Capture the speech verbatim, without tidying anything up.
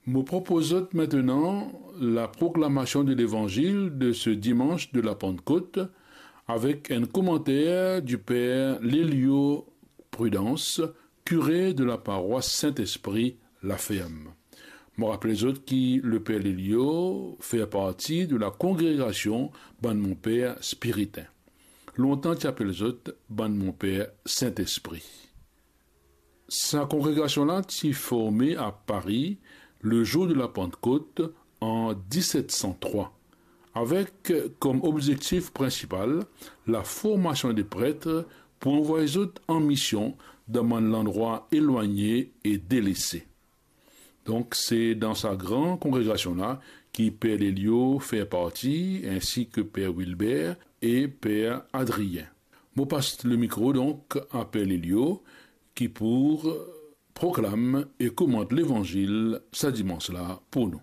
Mo propoz zot mintenan la proklamasion de levanzil de se dimans de la Pantkot avek enn komanter di per Lelio Prudence, kire de la parwas Sint-Espri Laferm. Mo rapel zot ki le per Lelio fer parti de la kongregasion bann Monper Spiritin. Lontan ti apel zot bann Monper Sint-Espri. Sa kongregasion la ti forme a Pari le zour de la Pantkot an diset san trwa, avek kom obzektif prinsipal la formasion de pret pou anvway zot an mision dan bann landrwa elwagne e delese. Donk, se dan sa gran kongregasion la ki per Lelio fer parti, ensi ke per Wilbert e per Adrien. Mo pas le mikro, donk, a per Lelio, ki pou proklam e komant levanzil sa dimans la pou nou.